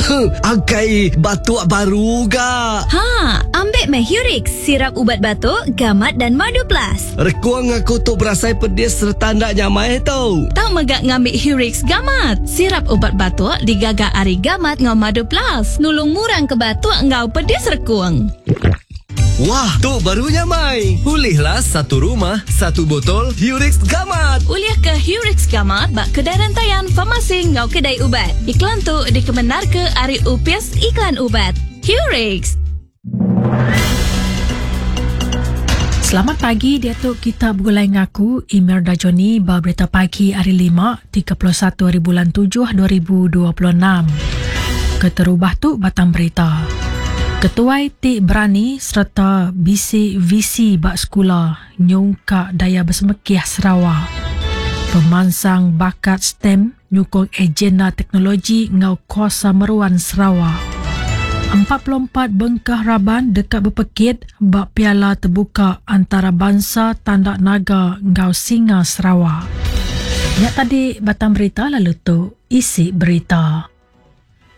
Angkai batuk baru ga. Ha, ambik meh Hurix, sirap ubat batuk, gamat dan madu plus. Rekung aku tu berasai pedis sereta enda nyamai tu. Tau mega ngambi Hurix Gamat, sirap ubat batuk digaga ari gamat enggau madu plus, nulung ngurangka batuk enggau pedis rekung. Wah, tu baru nyamai. Ulihlah satu rumah, satu botol Hurix Gamat. Ulih ke Hurix Gamat ba kedai rentayan, farmasi enggau kedai ubat. Iklan tu dikemendarka ari Opis Iklan Ubat. Hurix. Selamat pagi diatu kita begulai ngaku Imelda Johnny ba berita pagi hari 5 31 hari bulan 7 2026. Keterubah tu batang berita. Ketuai ti berani sereta bisi visi ba sekula nyungkak daya besemekih Sarawak. Pemansang bakat STEM nyukung agenda teknologi enggau kuasa meruan Sarawak. 44 bengkah raban deka bepekit ba Piala Tebuka Antarabansa Tanda Naga enggau Singa Sarawak. Nya tadi batang berita lalu tu isi berita.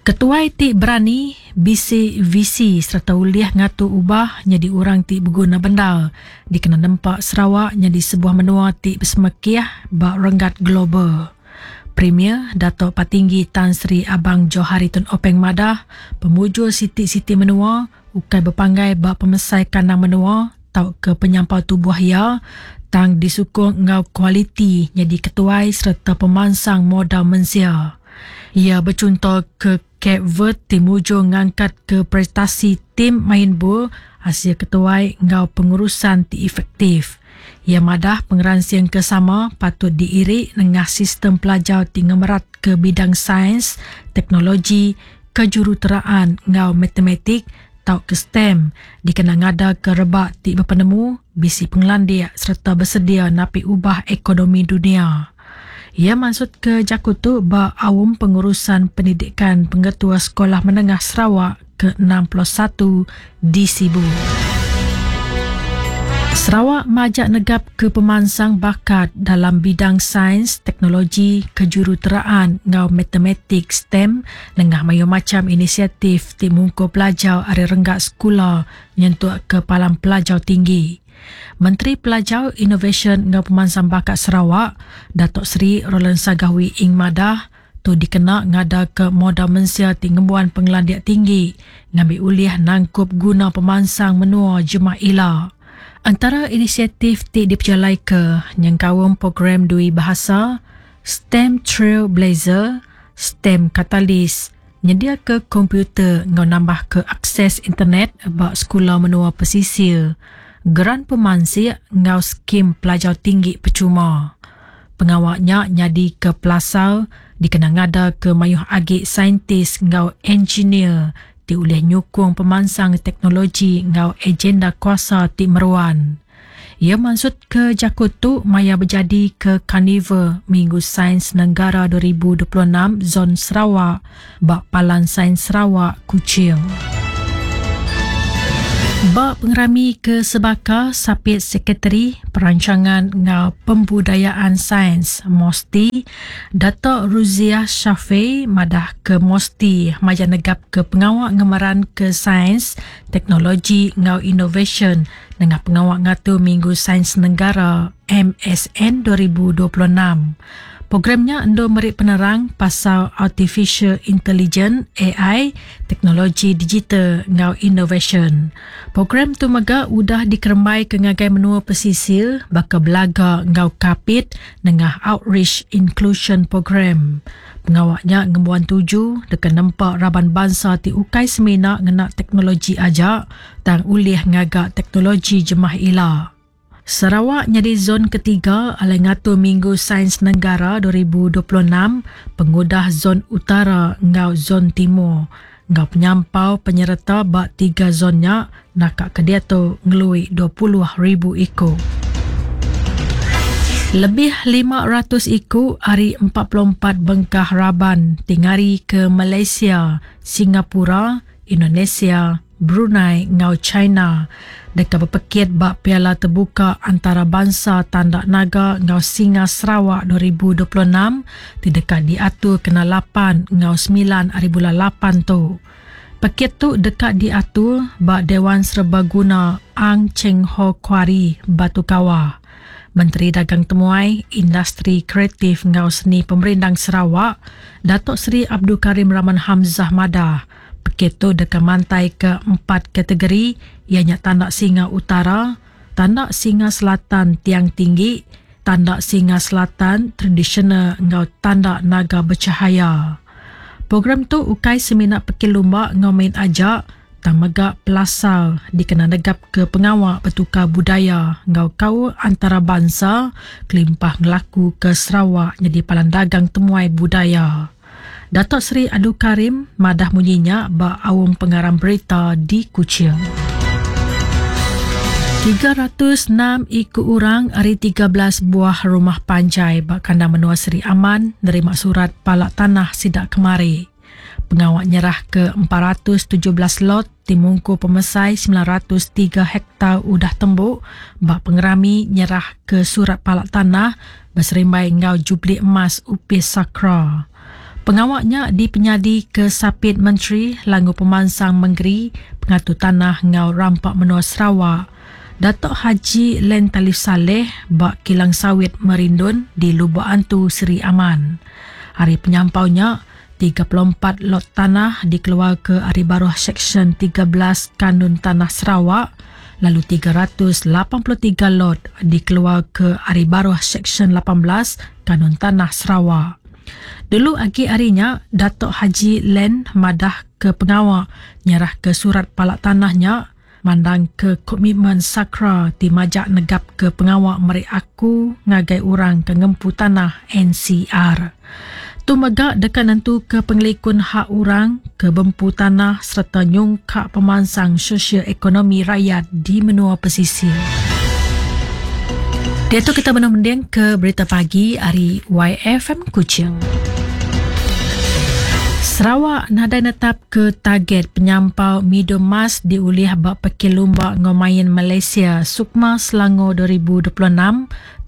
Ketuai ti berani, bisi visi sereta ulih ngatur ubah nyadi orang ti beguna bendar dikena nempa Sarawak nyadi sebuah menua ti besemekih ba renggat global. Premier Datuk Patinggi Tan Sri Abang Johari Tun Openg madah, pemujur siti-siti menua ukai bepanggai ba pemesai kandang menua tauka penyampau tubuh iya tang disukung enggau kualiti nyadi ketuai sereta pemansang modal mensia. Iya bechunto ke Cape Verde ti mujur ngangkatka prestasi tim main bul asil ketuai enggau pengurusan ti efektif. Iya madah pengeransing ke sama patut diiri nengah sistem pelajar ti ngemeratka bidang sains, teknologi, kejuruteraan enggau matematik tauka STEM dikena ngadaka rebak ti bepenemu, bisi pengelandik sereta besedia napi ubah ekonomi dunya. Iya mansutka jaku tu ba Aum Pengurusan Pendidikan Pengetua Sekolah Menengah Sarawak ke 61 di Sibu. Sarawak majak negapka pemansang bakat dalam bidang sains, teknologi, kejuruteraan enggau matematik, STEM, nengah mayuh macham inisiatif ti mungkur pelajar ari renggat sekula nyentuk ke palan pelajar tinggi. Menteri Pelajar, Inovasyen enggau Pemansang Bakat Sarawak, Datuk Seri Roland Sagah Wee Ing madah, tu dikena ngadaka modal mensia ti ngembuan pengelandik tinggi ngambi ulih nangkup guna pemansang menua jemah ila. Entara inisiatif ti dipejalaika nyengkaum program dui bahasa, STEM Trailblazer, STEM Catalyst, nyediaka komputer enggau nambahka akses internet ba sekula menua pesisir, geran pemansik enggau skim pelajar tinggi pechuma. Pengawa nya nyadika pelasar dikena ngadaka mayuh agi saintis enggau enjinir ti ulih nyukung pemansang teknologi enggau agenda kuasa ti meruan. Iya mansutka jaku tu maya bejadika Karnival Minggu Sains Negara 2026 Zon Sarawak ba Palan Sains Sarawak, Kuching. Ba pengerami ke sebaka, Sapit Sekretari Perancangan enggau Pembudayaan Sains, MOSTI, Dato Ruziah Shafei madahka MOSTI majak negapka pengawa ngemeranka sains, teknologi enggau inovasyen nengah pengawa ngatur Minggu Sains Negara, MSN, 2026. Program nya endur meri penerang pasal Artificial Intelligence, AI, teknologi digital enggau inovasyen. Program tu mega udah dikerembaika ngagai menua pesisir baka Belaga enggau Kapit nengah Outreach Inclusion Program. Pengawa nya ngembuan tuju deka nempa raban bansa ti ukai semina ngena teknologi aja tang ulih ngaga teknologi jemah ila. Sarawak nyadi zon ketiga alai ngatur Minggu Sains Negara 2026 pengudah Zon Utara enggau Zon Timur. Enggau penyampau penyereta ba tiga zon nya naka ke diatu ngelui 20,000 iku. Lebih 500 iku ari 44 bengkah raban ti ngarika Malaysia, Singapura, Indonesia, Brunei enggau China deka bepekit ba Piala Tebuka Antarabansa Tanda Naga enggau Singa Sarawak 2026 ti deka diatur kena lapan enggau semilan aribulan lapan tu. Pekit tu deka diatur ba Dewan Serbaguna Ang Cheng Ho Kuari, Batu Kawa. Menteri Dagang Temuai, Industri Kreatif enggau Seni Pemerindang Sarawak, Datuk Seri Abdul Karim Rahman Hamzah madah, pekit tu deka mantaika empat kategori iya nya Tanda Singa Utara, Tanda Singa Selatan Tiang Tinggi, Tanda Singa Selatan Tradisional enggau Tanda Naga Bercahaya. Program tu ukai semina pekit lumba enggau main aja tang mega pelasar dikena negapka pengawa betukar budaya enggau kaul antarabansa kelimpah ngelakuka Sarawak nyadi palan dagang temuai budaya. Datuk Seri Abdul Karim madah munyi nya ba aum pengarang berita di Kuching. 306 iku orang ari 13 buah rumah panjai ba kandang menua Sri Aman nerima surat pala tanah sida kemari. Pengawa nyerahka 417 lot ti mungkur pemesai 903 hektar udah tembu ba pengerami nyerahka surat pala tanah beserimbai enggau Jubli Emas Upis Sakra. Pengawa nya dipenyadika Sapit Menteri Langgur Pemansang Mengeri, Pengatur Tanah enggau Rampa Menua Sarawak, Datuk Haji Len Talif Salleh ba Kilang Sawit Merindun di Lubok Antu, Sri Aman. Ari penyampau nya, 34 lot tanah dikeluarka ari baruh Seksyen 13 Kanun Tanah Sarawak lalu 383 lot dikeluarka ari baruh Seksyen 18 Kanun Tanah Sarawak. Dulu agi ari nya, Datuk Haji Len madah ke pengawa nyerahka surat pala tanah nya mandangka komitmen SAKRA ti majak negapka pengawa meri aku ngagai orang ke ngempu tanah NCR. Tu mega deka nentuka pengelikun hak orang ke bempu tanah sereta nyungkak pemansang sosial ekonomi rayat di menua pesisir. Diatu kita benung mending ke berita pagi ari YFM Kuching. Sarawak nadai netap ke target penyampau midul emas diulih ba Pekit Lumba enggau Main Malaysia Sukma Selangor 2026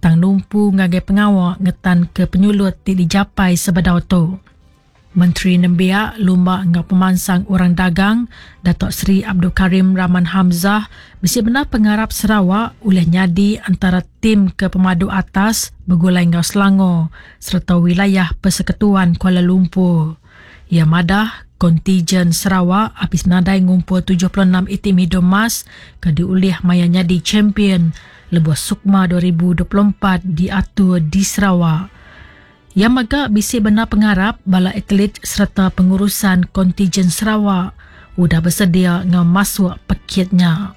tang numpu ngagai pengawa ngetanka penyulut ti dijapai sebedau tu. Menteri Nembiak, Lumba enggau Pemansang Orang Dagang, Datuk Seri Abdul Karim Rahman Hamzah bisi bendar pengarap Sarawak ulih nyadi antara tim ke pemadu atas begulai enggau Selangor sereta Wilayah Persekutuan Kuala Lumpur. Iya madah, kontijen Sarawak abis nadai ngumpul 76 iti midul emas ke diulih maya nyadi champion lebuh Sukma 2024 diatur di Sarawak. Iya mega bisi bendar pengarap bala atlet sereta pengurusan kontijen Sarawak udah besedia enggau masuk pekit nya.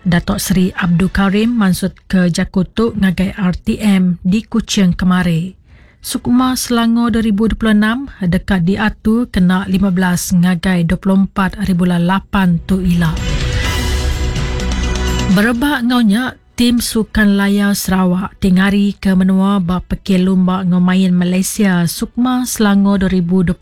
Datuk Seri Abdul Karim mansutka jaku tu ngagai RTM di Kuching kemari. Sukma Selangor 2026 deka diatur kena 15 ngagai 24 haribulan 8 tu ila. Berebak enggau nya, Tim Sukan Layar Sarawak ti ngarika menua ba Pekit Lumba enggau Main Malaysia Sukma Selangor 2026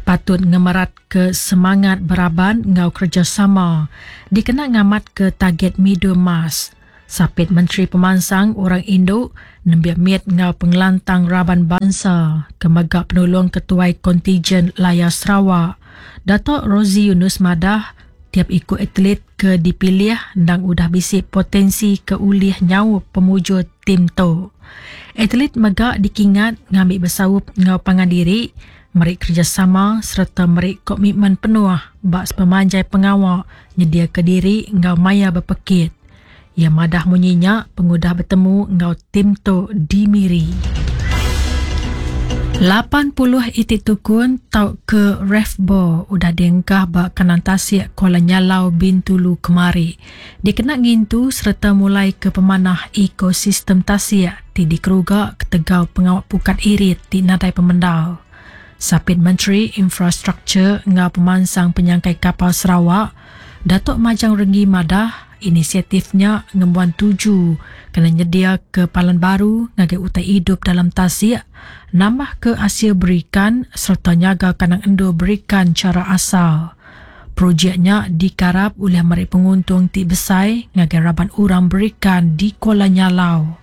patut ngemeratka semangat beraban enggau kerejasama dikena ngamatka target midul emas. Sapit Menteri Pemansang Orang Indu, Nembiak Mit enggau Pengelantang Raban Bansa ke mega Penulung Ketuai Kontijen Layar Sarawak, Datuk Rosey Yunus madah, tiap iku atlet ke dipilih endang udah bisi potensi ke ulih nyaup pemujur tim tu. Atlet mega dikingat ngambi besaup enggau pangan diri, meri kerejasama sereta meri komitmen penuh ba sepemanjai pengawa nyediaka diri enggau maya bepekit. Iya madah munyi nya pengudah betemu enggau tim tu di Miri. 80 iti tukun tauka refbo udah diengkah ba kandang tasik Kuala Nyalau Bintulu kemari dikena ngintu sereta mulaika pemanah ekosistem tasik ti dikeruga ketegal pengawa pukat irit ti nadai pemendar. Sapit Menteri Infrastruktur enggau Pemansang Penyangkai Kapal Sarawak, Datuk Majang Renggi madah, inisiatif nya ngembuan tuju kena nyediaka palan baru ngagai utai idup dalam tasik, nambahka asil berikan sereta nyaga kandang endur berikan chara asal. Projek nya dikarap ulih meri penguntung ti besai ngagai raban orang berikan di Kuala Nyalau.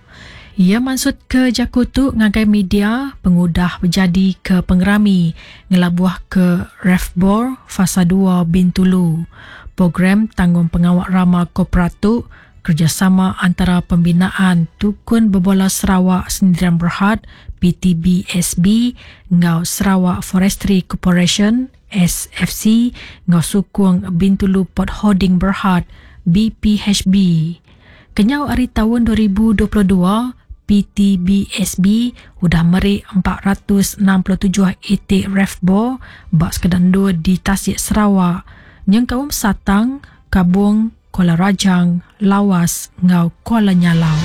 Iya mansutka jaku tu ngagai media pengudah bejadika pengerami ngelabuhka Refbor Fasa dua Bintulu. Program Tanggungpengawa Rama Korporat tu kerejasama antara Pembinaan Tukun Bebola Sarawak Sendirian Berhad, PTBSB, enggau Sarawak Forestry Corporation, SFC, enggau sukung Bintulu Port Holding Berhad, BPHB. Kenyau ari taun 2022, PTBSB udah meri 467 iti refbor ba sekeda endur di tasik Sarawak, nyengkaum Satang, Kabong, Kuala Rajang, Lawas enggau Kuala Nyalau.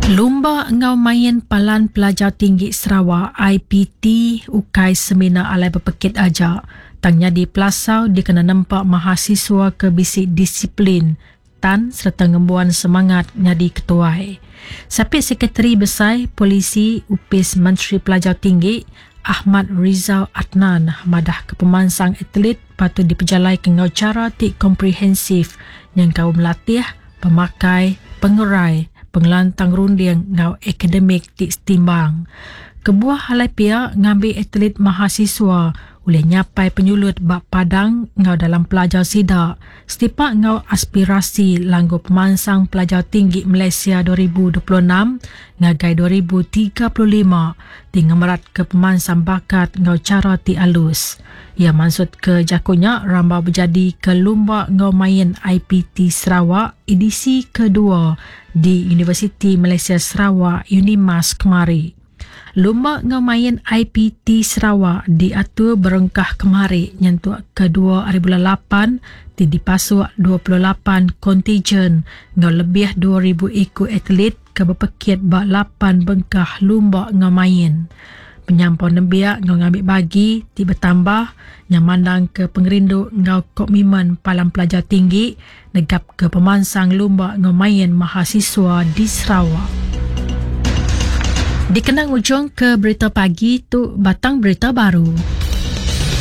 Lumba enggau main Palan Pelajar Tinggi Sarawak, IPT, ukai semina alai bepekit aja, tang nyadi pelasar dikena nempa mahasiswa ke bisi disiplin, tan sereta ngembuan semangat nyadi ketuai. Sapit Sekretari Besai Polisi Opis Menteri Pelajar Tinggi, Ahmad Rizal Adnan madahka pemansang atlet patut dipejalaika enggau chara ti komprehensif nyengkaum latih, pemakai, pengerai, pengelantang runding enggau akademik ti setimbang. Kebuah alai pia ngambi atlet mahasiswa ulih nyapai penyulut ba padang enggau dalam pelajar sida setipak enggau aspirasi Langgur Pemansang Pelajar Tinggi Malaysia 2026 ngagai 2035 ti ngemeratka pemansang bakat enggau chara ti alus. Iya mansutka jaku nya rambau bejadika Lumba enggau Main IPT Sarawak edisi kedua di Universiti Malaysia Sarawak, Unimas, kemari. Lumba enggau Main IPT Sarawak diatur berengkah kemari nyentuk ke dua ari bulan lapan ti dipasuk 28 kontijen enggau lebih 2000 iku atlet ke bepekit ba lapan bengkah lumba enggau main. Penyampau nembiak enggau ngambi bagi ti betambah nya mandangka pengerindu enggau komitmen Palan Pelajar Tinggi negapka pemansang lumba enggau main mahasiswa di Sarawak. Dikena ngujungka berita pagi tu batang berita baru.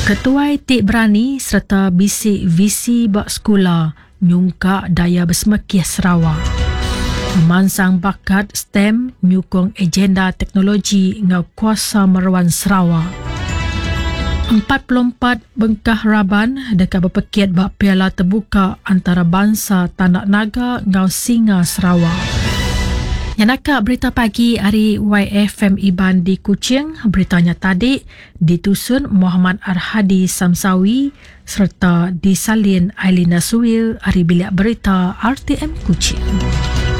Ketuai ti berani sereta bisi visi ba sekula nyungkak daya besemekih Sarawak. Pemansang bakat STEM nyukung agenda teknologi enggau kuasa meruan Sarawak. 44 bengkah raban deka bepekit ba Piala Tebuka Antarabansa Tandak Naga enggau Singa Sarawak. Nya naka berita pagi ari YFM Iban di Kuching. Berita nya tadi ditusun Muhammad Arhadi Samsawi sereta disalin Ailina Suwil ari Bilik Berita RTM Kuching.